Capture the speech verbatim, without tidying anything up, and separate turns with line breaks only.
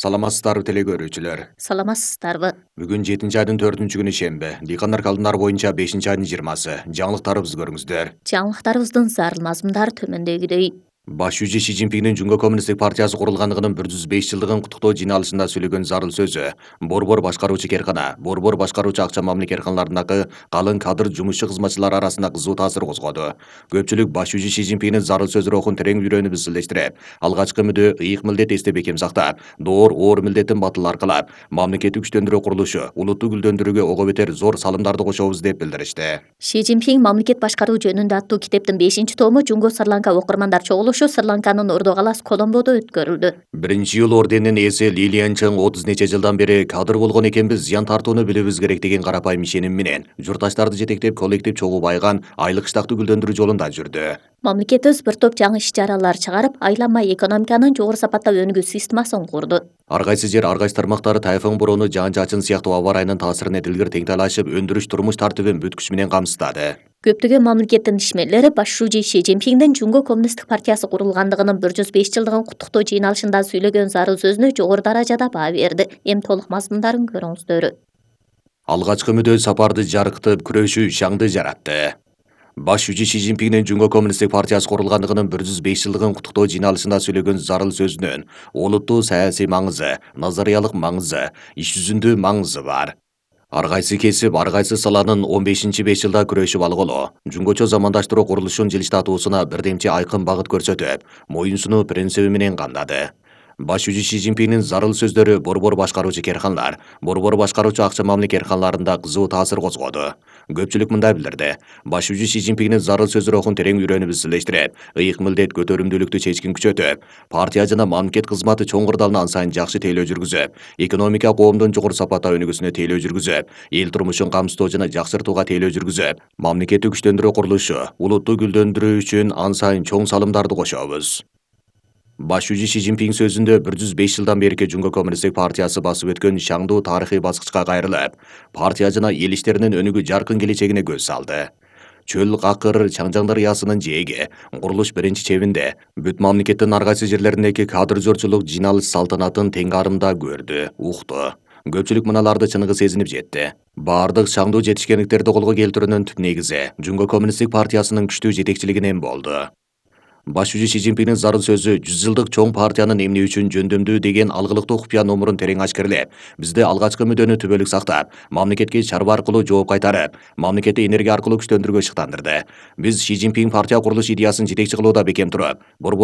Саламатсыздарбы теле көрүүчүлөр.
Саламатсыздарбы.
Бүгүн жетинчи айдын төртүнчү күнү шемби. Дыйкандар календарь боюнча бешинчи айдын жыйырмасы. Жаңылыктарыбызды көрүңүздөр.
Жаңылыктарыбыздын зарыл мазмундары төмөндөгүдөй.
Баш жүзү Си Цзиньпиндин Жумго Коммунисттик партиясы курулгандыгынын бир жүз беш жылдыгын куттуктоо жыйналышында сүйлөгөн зарыл сөзү борбор башкаруучу керкана, борбор башкаруучу акча мамиле керканаларындагы калың кадр жумушчу кызматчылар арасында кызуу таасир козгоду. Көпчүлүк баш жүзү Си Цзиньпиндин зарыл сөз рухун терең үйрөнүп изилдештирип, алгачкы мүдө, ыйык милдет эсте бекем сактап, доор оор милдеттин батыл аркалап, мамлекетти күчтөндүрүү курулушу, улутту гүлдөндүрүүгө ого бетер зор салымдарды кошобуз деп билдиришти.
Си Цзиньпин мамлекет башкаруу жөнүндө аттуу китептин бешинчи тому Жумго Сырланка окурмандар чогулушу Сырланканын Ордо-Калас Коломбодо өткөрүлдү.
Биринчи жыл орденинин ээси Лилиан Чың отуз нече жылдан бери кадыр болгон экенбиз, зыян тартууну билибиз керек деген карапайым ишеним менен журтташтарды жетектеп коллектив чогуу байган айлык штактуу гүлдөндүрүү жолунда жүрдү.
Мамлекетибиз бир топ жаңы иш-чаралар чыгарып, айланма экономиканын жогору сапатта өнүгүү системасын курду.
Ар кайсы жер, ар кайсы тармактары тайфун бороону, жаан-чачын сыяктуу аба ырайынын таасирин эдилгир теңтайлашып, өндүрүш турмуш тартибин бүт күч менен камсыздады.
Көптөгөн мамлекеттин ишмерлери баш жүзү Си Цзиньпиндин Жумго Коммунисттик партиясы курулгандыгынын бир жүз беш жылдыгын куттуктоо жыйналышында сүйлөгөн зарыл сөзүнө жогору даражада баа берди. Эми толук мазмундарын көрүңүздөр.
Алгачкы мүдө сапарды жарыктып, күрөшүү шаңды жаратты. Баш жүзү Си Цзиньпиндин Жумго Коммунисттик партиясы курулгандыгынын бир жүз беш жылдыгын куттуктоо жыйналышында сүйлөгөн зарыл сөзүнүн олуттуу саясий маңызы, назариялык маңызы, иш жүзүндө маңызы бар. Ар кайсы кесип, ар кайсы саланын он бешинчи беш жылда күрөшүп алгылоо, жумгочо замандаштыруу курулушун жылыштатуусуна бирдемчи айкын багыт көрсөтүп, моюнсунуу принциби менен камдады. Баш жүзү Си Цзиньпиндин зарыл сөздөрү борбор башкаруучу керканалар, борбор башкаруучу акча мамиле керканаларында кызуу таасир козгоду. Көпчүлүк мындай билдирди. Баш жүзү Си Цзиньпиндин зарыл сөз рухун терең үйрөнүп изилдештирип, ыйык милдет, көтөрүмдүүлүктү чечкин күчөтүп, партия жана мамлекет кызматы чоң кырдаалын ан сайын жакшы тейлөө жүргүзүп, экономика коомдун жогору сапатта өнүгүүсүнө тейлөө жүргүзүп, эл турмушун камсыздоо жана жакшыртууга тейлөө жүргүзүп, мамлекетти күчтөндүрүү курулушу, улутту гүлдөндүрүү үчүн ан сайын чоң салымдарды кошобуз. Баш жүзү Си Цзиньпин сөзүндө бир жүз беш жылдан берки Жумго Коммунисттик партиясы басып өткөн шаңдуу тарыхый баскычка кайрылып, партия жана эл иштеринин өнүгүү жаркын келечегине көз салды. Чөл какыр Чаңжаң дарыясынын жээги, курулуш биринчи чебинде, бүт мамлекеттин ар кайсы жерлериндеги кадр жорчулук жыйналыш салтанатын тең арымда көрдү, укту. Көпчүлүк мыналарды чыныгы сезинип жетти. Баардык шаңдуу жетишкендиктерди колго келтирүүнүн түп негизи Жумго Коммунисттик партиясынын күчтүү жетекчилигинен болду. Баш жүзү Си Цзиньпиндин зарыл сөзү жүз жылдык чоң партиянын эмне үчүн жөндөмдүү деген алгылыктуу купуя номурун терең ачкерлеп, бизде алгачкы мүдөнү түбөлүк сактап, мамлекетке чарба аркылуу жооп кайтарып, мамлекетти энергия аркылуу күчтөндүрүүгө шыктандырды. Биз Си Цзиньпин партия курулуш идеясын жетекчи кылууда бекем туруп, борбор